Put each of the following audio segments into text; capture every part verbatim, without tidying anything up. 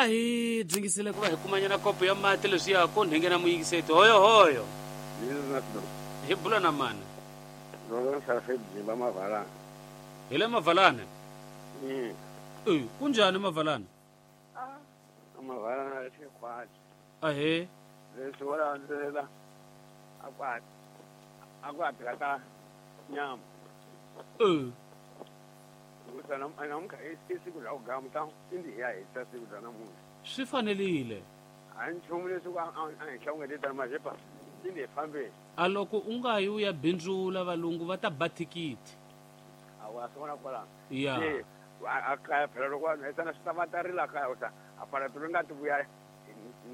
A hi dzingisile ku va hi kumanyana kopo ya mati leswiya ko nhengena muyingiseti hoyo hoyo. Hi bula na mani? Hi le Mavalane? Mm. Eh, kunjani Mavalane? Ah, Mavalane i khwati. Ahee. Leswi wo landzelela a ku a ku hatlisa nyama. Eh. Hikuva namuntlha i siku ra ku gama indi hi ya hisa siku ra namuntlha. Swi fanerile. A nchumu leswi a a hi hlawungetela majepa indi hi fambeni. A loko u nga yi u ya bindzula valungu va ta ba thikithi. A wa swi vona kwalano. Ya. A kaya phela loko vanhu hesana swi ta va ta rila kaya u ta a pala ri nga ti vuya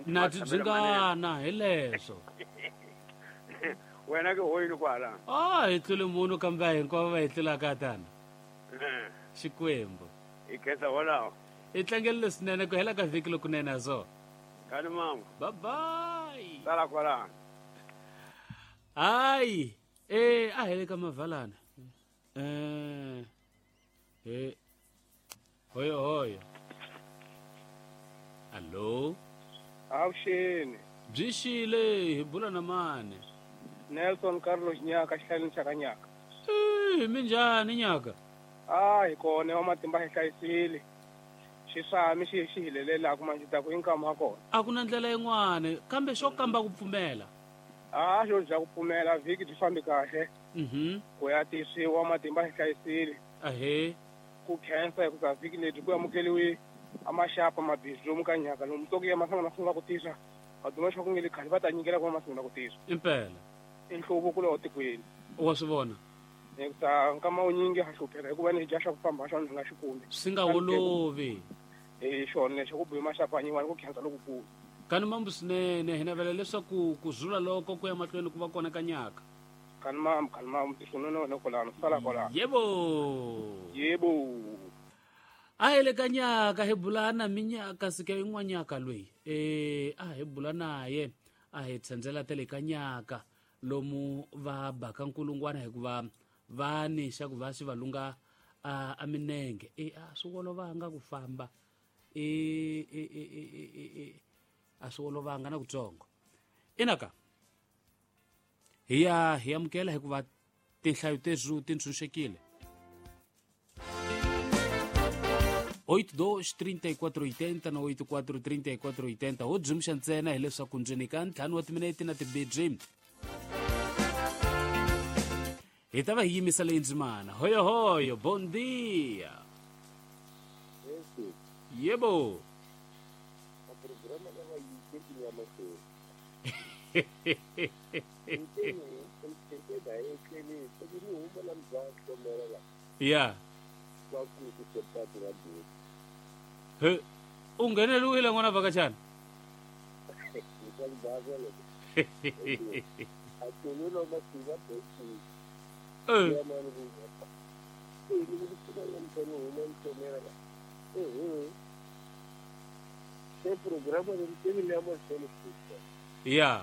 na ti byingana hi leswo. Wena ke hoyini kwala. Ah, hi tlule munhu kambe hinkwavo va hi tlulaka tana. Xikwembu. Hi khensa wolawo. Hi tlangerile swinene ku hela ka vhiki lokunene ha swona. Kani mama. Bye bye. Sala kwalano. Hayi, eh a hele ka Mavalana. Eh. Eh. Hoyo hoyo. Allo. Avuxeni. Byi xile hi bula na mani? Nelson Carlos Nyaka xihlaleni xa ka Nyaka. Eh, minjhani Nyaka? Ah, hi kona wa matimba hi hlayisile. Xisami xi xi hilelelaka manje ta ku inkama kona. A ku na ndlela yin'wana kambe xo kamba ku pfumela. Ah, xo bya ku pfumela vhiki byi fambi kahle. Mhm. Ku ya tisiwa matimba hi hlayisile. Ahee. Ku khensa hi ku ka vhiki lebyi ku amukeliwe a maxapa mabindzu lomu ka Nyaka lomu toki ya masangana sungula ku tisa. Vaduma xa ku nge le khale va ta nyikela ku va masungula ku tisa. Impela. I nhluvuko lowu tikweni. Wa swi vona. Hikuva nkama wunyingi ha hlupheka hikuva ni dya xa ku famba xa ndzi nga xi kumi. Swi nga olovi. Eh xona lexi ku biwa maxapa nyiwani ku khensa lokukulu. Kani mambu swinene hi navela leswaku ku zula loko ku ya mahlweni ku va kona ka Nyaka. Kani mambu kani mambu tiswinene wena kwalano sala kwalano. Yebo. Yebo. A hi le ka Nyaka hi bula na minyaka sika yin'wanyaka loyi. Eh a hi bula naye a hi tsendzela tele ka Nyaka lomu va baka nkulungwana hikuva va ni xa ku va xi valunga a a minenge e a swi olovanga ku famba e e e e e a swi olovanga na kutsongo. Inaka hi ya hi amukela hikuva tinhlayo tezu ti ntshunxekile. oito dois trinta e quatro oitenta na oito quatro trinta e quatro oitenta ho dzumxa ntsena hileswaku ndzeni ka ntlhanu wa timinete na tibedzi hi ta va hi yimisa leyi ndzimana. Hoyo hoyo, bom dia. Yebo. Ya. He, u ngheneliwile n'wana vhakachana? Eh. Ya.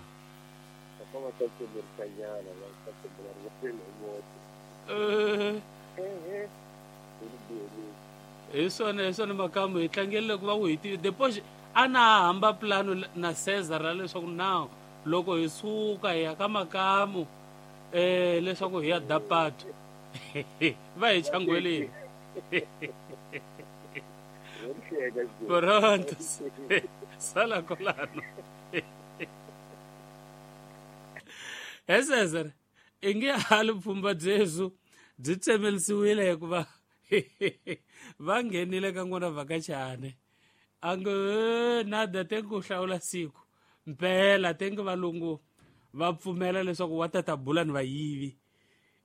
Eh. Hi swona hi swona makamu hi tlangerile ku va u hi tivi depois a na hamba plano na Cesar ra leswaku now loko hi suka hi ya ka makamu eh leswaku hi ya dapatu va hi changweleni. Pronto. Sala kolano. He Cesar i nge hali pfhumba byezu byi tsemelisiwile hikuva va nghenile ka n'wana vhakachane a nge nada tengi ku hlawula siku mpela tengi valungu va pfumela leswaku wa tata bula ni vayivi.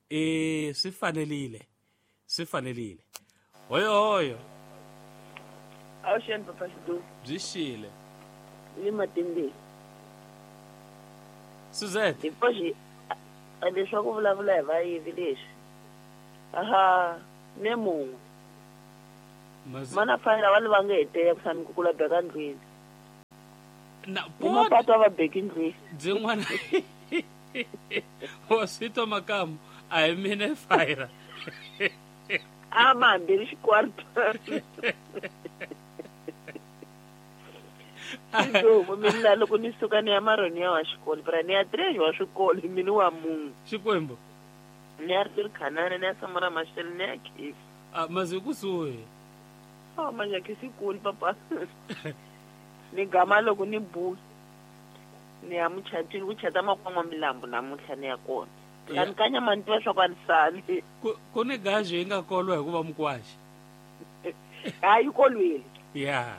Eh swi fanerile swi fanerile. Hoyo hoyo. Avuxeni papa Xidu. Byi xile. Ni matimbeni. Suzette. Depois leswaku vulavula hi vayivi leswi. Aha, ne mun'we. Mana fanele va va nge heteya ku sami ku kula beka ndlwini. Na ni mapato a va beki ndlwini. Byin'wana wa swi twa makamu a hi mina fire. A ma hambeni xikwarto. Xidlomo mina loko ni suka ni ya maroni ya wa xikolo pra ni ya três wa xikolo mina wa munhu Xikwembu ni ya ri khanana ni ya Samora Machel ni ya Khisi a mazi kusuhi a manje Khisi kulu papa ni gama loko ni bu ni ya muchatini ku chata makwama milambu namuntlha ni ya kona ni kanya mani tiva swa ku a ni sali ku ku ni gaji yi nga kolwa hikuva mukwaxi hayi kolwile ya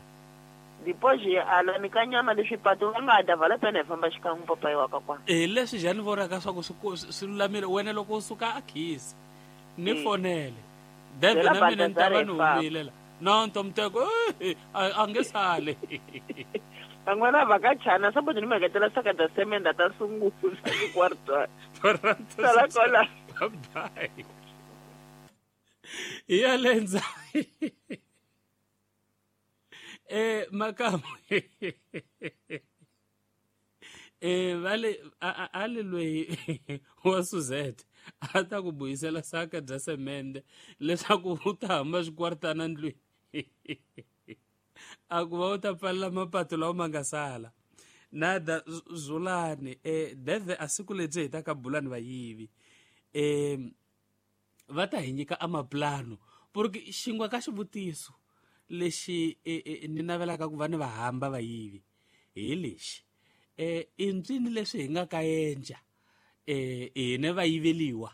depois ala ni kanyama leswi pato va nga da vala pena hi famba xikan'we papayi wa ka kwana eh leswi njhani vonaka swa ku swi swi lulamile wena loko u suka a khisi ni fonele deve na mina ni ta va ni humile la no ntomteko a nge sali van'wana va ka chana sabodo ni meketela saka da semenda ta sungula kwarta sala kola bye ya lenza eh makamu eh vale ale loyi wa Suzette a ta ku buyisela saka bya semende leswaku u ta hamba xikwartana ndlwini a ku va u ta pfalela mapato lawa ma nga sala nada Zulani eh deve a siku lebyi hi ta ka bulani vayivi eh va ta hi nyika amaplano porque xingwa ka xivutiso lexi ni navelaka ku va ni va hamba vayivi hi lexi eh i ntswini leswi hi nga ka endla eh hina va yiveliwa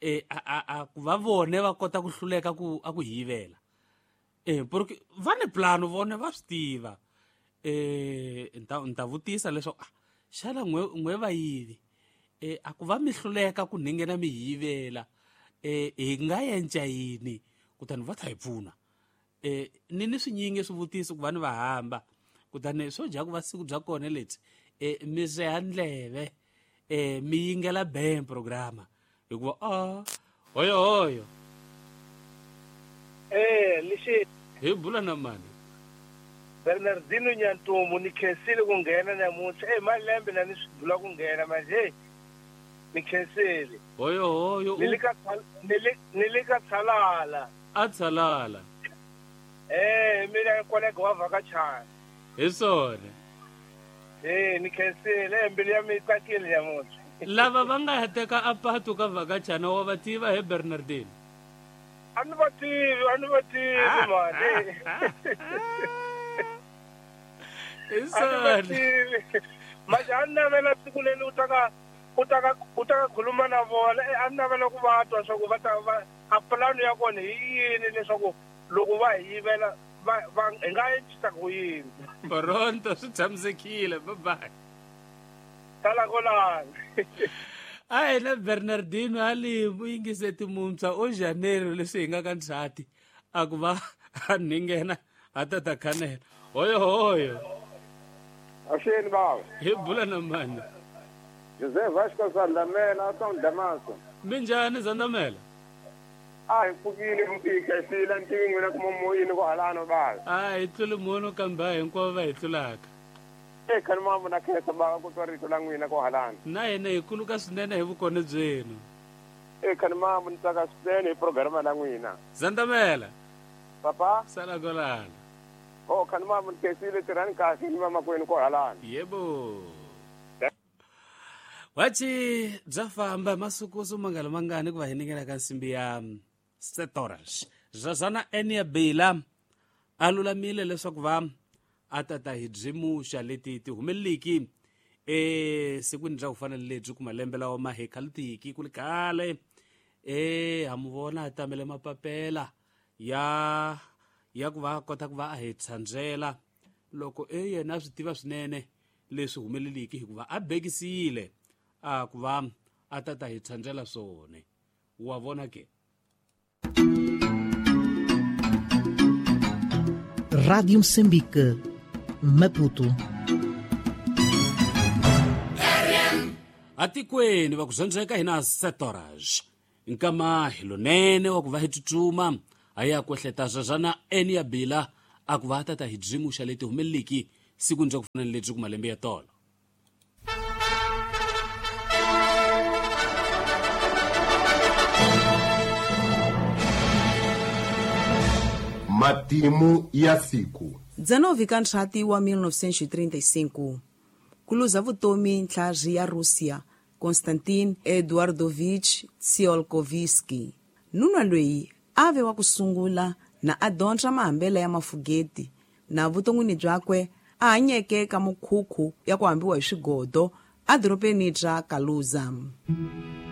eh a a ku va vone va kota ku hluleka ku a ku yivela eh porque va ni plano vone va swi tiva eh nta nta vutisa leswaku ah xana n'we n'we va yivi eh a ku va mi hluleka ku ninghena mi yivela eh hi nga endla yini kutani va ta hi pfuna eh ni ni swinyingi swivutiso ku va ni va hamba kutani swo dya ku va siku bya kona lebyi eh mi seha ndleve eh mi yingela ben programa hikuva a hoyo hoyo eh lexi hi bula na mani Bernardino Nyantumbu ni khensile ku nghena namuntlha eh malembe na ni swi bula ku nghena manje ni khensile hoyo hoyo ni le ka ni le ni le ka Tshalala a Tshalala eh mina kolega wa vhakachana hi swona eh ni khensile mbilu ya mi tsakile namuntlha lava va nga teka apatu ka vhakachana wa va tiva he Bernardino a ni va tivi a ni va tivi mani hi swona manje a ni navela siku leri u taka u taka u taka khuluma na vona a ni navela ku va twa swa ku va ta va a pulani ya kona hi yini leswaku loko va hi yivela va va hi nga endlisa ku yini pronto swi tshamisekile bye bye sala kolani a hina Bernardino a li muyingise timuntshwa o Janeiro leswi hi nga ka ndzhati a ku va a ninghena a ta ta khanela hoyo hoyo Axeni baba hi bula na mani José Vasco Zandamela a Damaso minjhani Zandamela a hi pfukile hi khensile ntivi n'wina kuma moyini ku halano baba a hi tluli munhu kambe a hinkwavo va hi tlulaka e khani mambo na khensa baba ku twa rito la n'wina ku halano na hina hi kuluka swinene hi vukona byenu e khani mambo ni tsaka swinene hi programa la n'wina Zandamela papa sala kolana o khani mambo ni khensile tirhani kahle ni vamakwenu ku halano yebo wachi bya famba masiku so mangalo mangani ku va hi ningela ka nsimbi ya setoras Zazana enia bela a lulamile leswaku va a tata hi byimuxa leti ti humeleliki eh sikwini bya ku fana ni lebyi ku malembe lawa ma hi khalutiki ku li khale eh ha mu vona a tamele mapapela ya ya ku va kota ku va a hi tshandzela loko e yena a swi tiva swinene leswi humeleliki hikuva a bekisile a ku va a tata hi tshandzela swona wa vona ke Rádio Moçambique, Maputo. Atikweni va ku zwandzeka hina setorage nkama hi lonene wa ku va hi tsutsuma a ya kwehleta Zazana enia bila a ku va tata hi byimuxa leti humeleliki siku ndza ku fana ni lebyi ku malembe ya tolo Matimu ya siku. dezenove ka nthati wa mil novecentos e trinta e cinco, kuluza vutomi ntlharhi ya Russia Konstantin Eduardovich Tsiolkovsky. Nunwa loyi a ve wa ku sungula na a dyondza mahambelo ya mafugeti na vuton'wini byakwe a hanyeke ka mukhukhu ya ku hambiwa hi swigodo edorobeni ra Kaluza.